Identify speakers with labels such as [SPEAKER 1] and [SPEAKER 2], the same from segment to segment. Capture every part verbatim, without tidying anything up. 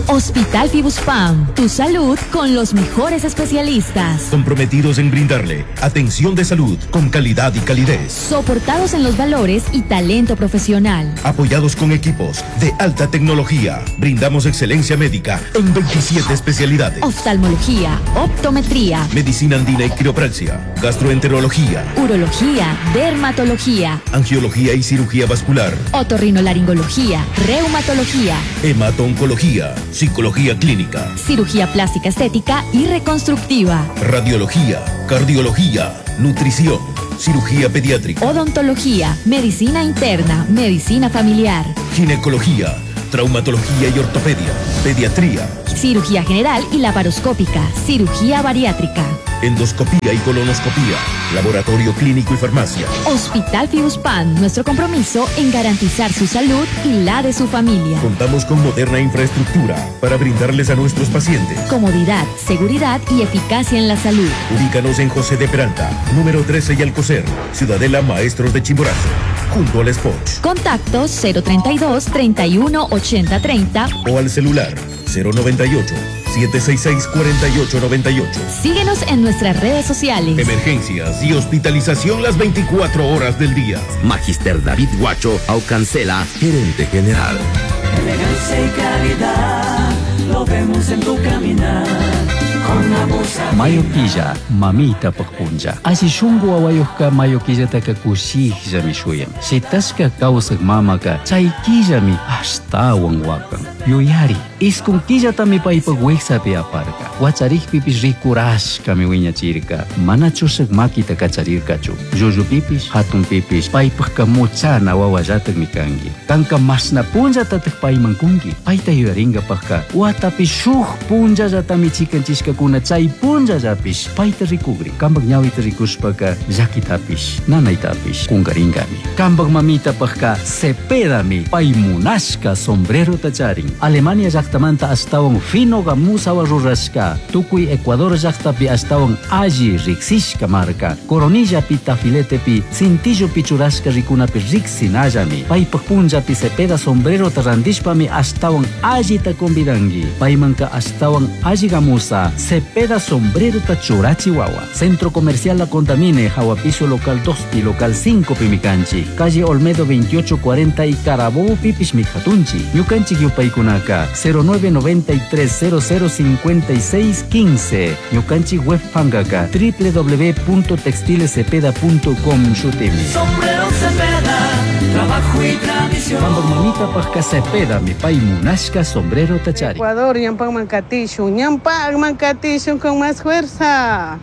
[SPEAKER 1] Hospital Fibuspam, tu salud con los mejores especialistas.
[SPEAKER 2] Comprometidos en brindarle atención de salud con calidad y calidez.
[SPEAKER 1] Soportados en los valores y talento profesional.
[SPEAKER 2] Apoyados con equipos de alta tecnología, brindamos excelencia médica en veintisiete especialidades.
[SPEAKER 1] Oftalmología, optometría,
[SPEAKER 2] medicina andina y quiropraxia, gastroenterología,
[SPEAKER 1] urología, dermatología,
[SPEAKER 2] angiología y cirugía vascular,
[SPEAKER 1] otorrinolaringología, reumatología,
[SPEAKER 2] hemato-oncología, psicología clínica,
[SPEAKER 1] cirugía plástica estética y reconstructiva,
[SPEAKER 2] radiología, cardiología, nutrición, cirugía pediátrica,
[SPEAKER 1] odontología, medicina interna, medicina familiar,
[SPEAKER 2] ginecología, traumatología y ortopedia, pediatría,
[SPEAKER 1] cirugía general y laparoscópica, cirugía bariátrica,
[SPEAKER 2] endoscopía y colonoscopía, laboratorio clínico y farmacia.
[SPEAKER 1] Hospital Fibuspam, nuestro compromiso en garantizar su salud y la de su familia.
[SPEAKER 2] Contamos con moderna infraestructura para brindarles a nuestros pacientes
[SPEAKER 1] comodidad, seguridad y eficacia en la salud.
[SPEAKER 2] Ubícanos en José de Peralta, número trece y Alcocer, Ciudadela Maestros de Chimborazo, junto al Spot.
[SPEAKER 1] Contacto cero treinta y dos, treinta y uno, ochenta, treinta
[SPEAKER 2] o al celular cero noventa y ocho, siete seis seis, cuarenta y ocho noventa y ocho.
[SPEAKER 1] Síguenos en nuestras redes sociales.
[SPEAKER 2] Emergencias y hospitalización las veinticuatro horas del día.
[SPEAKER 3] Magister David Guacho Aucancela, gerente general.
[SPEAKER 4] Elegancia y calidad, lo vemos en tu caminar.
[SPEAKER 5] Mayo killa, mamita pajpuncha. Así shungu wawayuqqa mayo killataka kushikllami shuyan. Shitashka kawsaq mamaka chay killami ashtawan wakan. Yuyari, iskun killatami paypaq wiksapi aparka. Wacharikpipish rikurashkami wiñachirka. Mana chushaq makita kacharirkachu. Llullupipish, hatunpipish, paypaqqa muchana wawallataqmi kanki. Kanka mashna punllatataq payman kunki. Payta yuyaringapaqqa watapi shuk punllallatami chikanchishkakuna chay punllallapish payta rikugri. Kampak ñawita rikushpaka llakitapish, nanaytapish kunkaringami. Kampak mamitapaqqa cepedami pay munashka sombrerota charin. Alemania llaqtamanta ashtawan fino gamusawa rurashka. Tukuy Ecuador llaqtapi ashtawan alli riksishka marka. Coronillapi tafiletepi cintillopi churashka rikunapi riksinallami. Paypaq punllapi cepeda sombrerota randishpami ashtawan allita convidanki. Paymanka ashtawan alli gamusa cepeda sombrerota churachiwawa. Centro Comercial La Contamine, Jahuapiso local dos pi local cinco pimicanchi. Calle Olmedo veintiocho cuarenta y Carabobo pipish mijatunchi. Ñukanchik yupaykunaka cero nueve noventa y tres cero cero cincuenta y seis quince. Ñukanchik web pangaka doble u doble u doble u punto textiles cepeda punto com shutimi.
[SPEAKER 4] Sombrero Cepeda, trabajo y tradición.
[SPEAKER 5] Pampak mamita pajka Cepeda, mi pay munashka sombrero tachari.
[SPEAKER 6] Ecuador, ñampak mankatishun, ñampak mankatishun con más fuerza.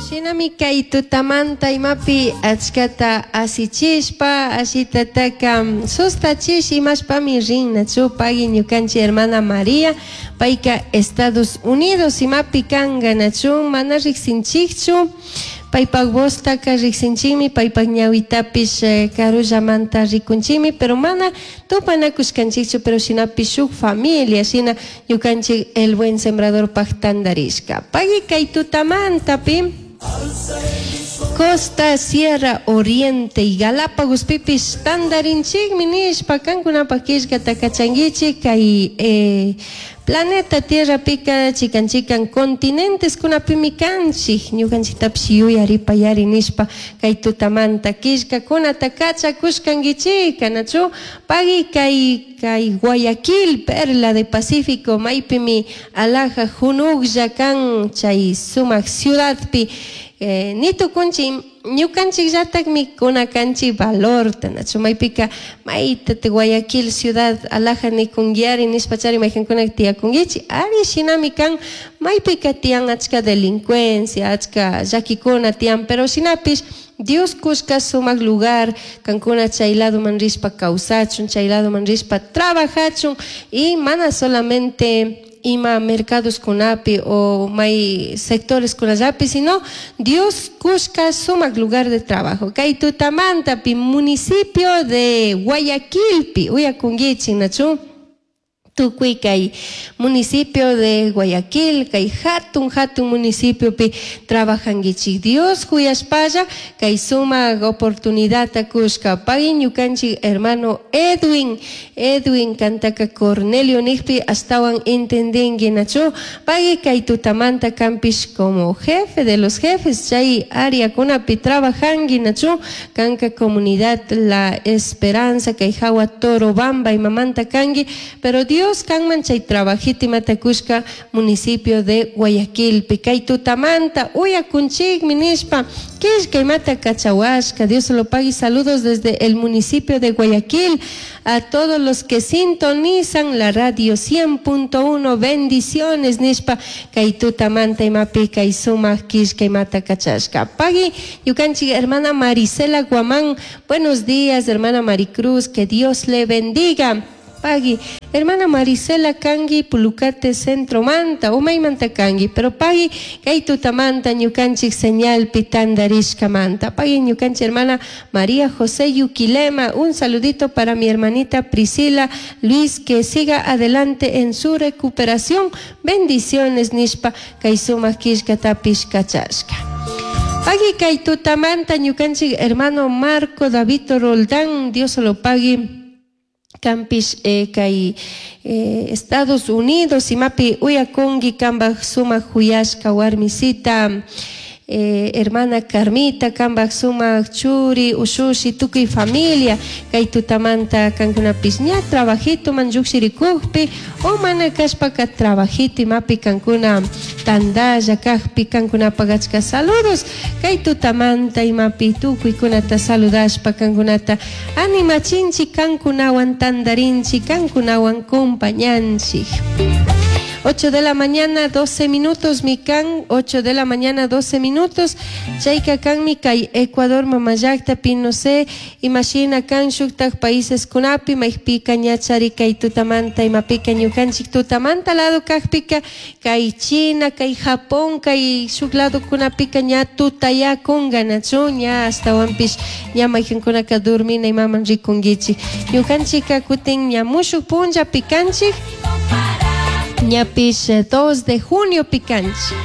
[SPEAKER 7] Shinami kay tutamanta imapi achkata asichishpa, ashitataka sustachish imashpami rinnachu pagui ñukanchik hermana María, payka Estados Unidos imapi kanka nachu mana riksinchikchu, paypak voztaka riksinchikmi, paypak ñawitapish, eh, karullamanta rikunchikmi, pero mana tupanakushkanchikchu, pero shinapish shuk familia, shina ñukanchik el buen sembrador pak tandarishka. Pagui kay tutamantapi Costa, Sierra, Oriente y Galápagos pipis tandarinchikmi nishpa kankunapak killkata kachankichik kay, eh, planeta Tierra pika chikan chikan continentes kunapimi kanchik ñukanchiktapish yuyaripayari nishpa kay tutamanta killkakunata kachakushkankichik nachu pagui kay, kay Guayaquil, Perla de Pacífico maypimi alhaja junuklla kan chay sumak ciudadpi. Eh, nitukunchik ñukanchikllatakmi kunakanchik valorta nachu maypika mayta te Guayaquil ciudad alhaja nikunkiari nishpachari mayqinkunak tiyakunkichik ari shinami kan maypika tiyan achka delincuencia achka llakikuna tiyan pero shinapish Dios kushka sumak lugar kankuna chay ladoman rishpa kawsachun chay ladoman rishpa trabajachun y mana solamente ima mercados kunapi o may sectores kunallapi, sino Dios kushka sumak lugar de trabajo. Kay tutamantapi municipio de Guayaquilpi, uyakunkichik nachu. Tukuy kay municipio de Guayaquil, kay hatun hatun municipiopi trabajankichik. Dios huyashpalla kay sumak oportunidadta kushka. Pagui ñukanchik hermano Edwin, Edwin kantaka Cornelio nijpi astawan entendinki nachu. Pagui kay tutamanta kampish como jefe de los jefes chay áreakunapi trabajanki nachu. Kanka comunidad La Esperanza kay hawa Torobamba imamanta kanki, pero Dios Dios kanman chay trabajito imata kushka municipio de Guayaquil kay tutamanta uyakunchikmi nishpa killka imata kachawashka. Dios lo pague. Saludos desde el municipio de Guayaquil a todos los que sintonizan la radio cien punto uno. Bendiciones nishpa kay tutamanta imapi kay sumak killka imata kachashka. Pagui ñukanchik hermana Marisela Guamán, buenos días hermana Maricruz, que Dios le bendiga. Pagui, hermana Marisela kangi Pulucate Centro Manta, Umaymanta kangi, pero pagui kay tutamanta ñukanchik señal pitandarishka manta. Pagui ñukanchik hermana María José Yuquilema, un saludito para mi hermanita Priscila Luis, que siga adelante en su recuperación. Bendiciones nishpa kay sumak killkatapish kachashka. Pagui kay tutamanta ñukanchik hermano Marco David Roldán, Dios lo pagui. Campish eh, kay eh, Estados Unidos imapi uyakunki kambaj sumak huyashka warmisita eh, hermana Carmita kambaj sumak churi ushushi tukuy familia kay tutamanta kankunapish ña trabajito man lluqshirikukpi o mana kashpaka trabajito imapi kankuna tandalla kajpi kankunapaq achka saludos kay tutamanta imapi tukuykunata saludashpa kankunata animachinchik kankunawan tandarinchik kankunawan compañanchik. ocho de la mañana, doce minutos, mikan, ocho de la mañana, doce minutos. Chayka kan mi kay Ecuador mamallakta pi no sé, imagina kan shuktak países kunapi, maypika ñachari kay tutamanta, imapika ñukanchik tutamanta lado kajpika, kay China, kay Japón, kay shuk lado kunapika ña tutayakunga nachu, ña astawanpish ña mayqinkunaka durmina imaman rikunkichik. Ñukanchika kutin ña mushuk punlla pikanchik. Ñapish dos de junio pikanchik.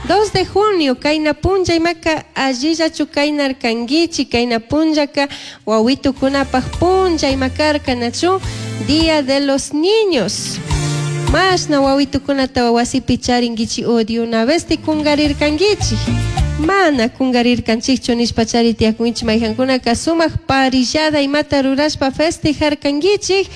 [SPEAKER 7] dos de junio kayna punlla imaka allillachu kaynarkankichik, kayna punllaka wawitukunapaq punlla imakarka nachu, Día de los Niños. Mashna wawitukunata wasipi charinkichik o de una vez tikungarirkankichik. Mana kungarirkanchikchu nishpa chari tiyakunchik mayqankunaka sumak parillada imata rurashpa festejarkankichik.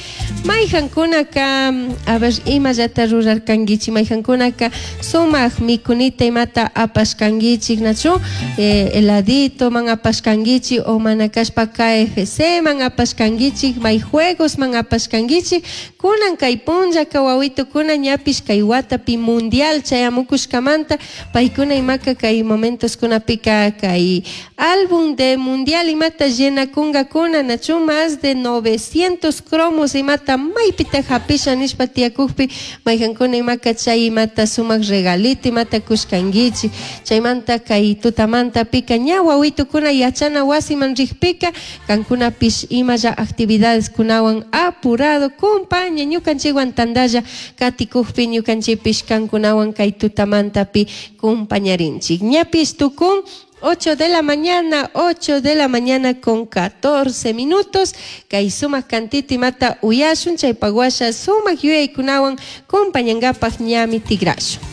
[SPEAKER 7] Mayqankunaka, a ver, imallata rurarkankichik, mayqankunaka sumak mikunita imata apashkankichik nachu, eh, heladito man apashkankichik o mana kashpa K F C man apashkankichik, may juegos man apashkankichik. Kunan kay punllaka wawitukuna ñapish kay watapi mundial chayamukushkamanta paykuna imaka kay momentos kunapika kay álbum de mundial imata llenakunkakuna nachu más de novecientos cromos imata maypita hapisha nishpa tiyakukpi mayqankuna imaka chay imata sumak regalito imata kushkankichik. Chaymanta kay tutamanta pika ña wawitukuna yachana wasiman rikpika kankunapish imalla actividades kunawan apurado kumpaña ñukanchikwan tandalla katikukpi ñukanchikpish kankunawan kay tutamantapi kumpañarinchik. Ñapish tukun ocho de la mañana, ocho de la mañana con catorce minutos. Kay sumak kantito imata uyashun, chaypaguasha sumak yuyaykunawan kumpañankapaq ñami tigrashun.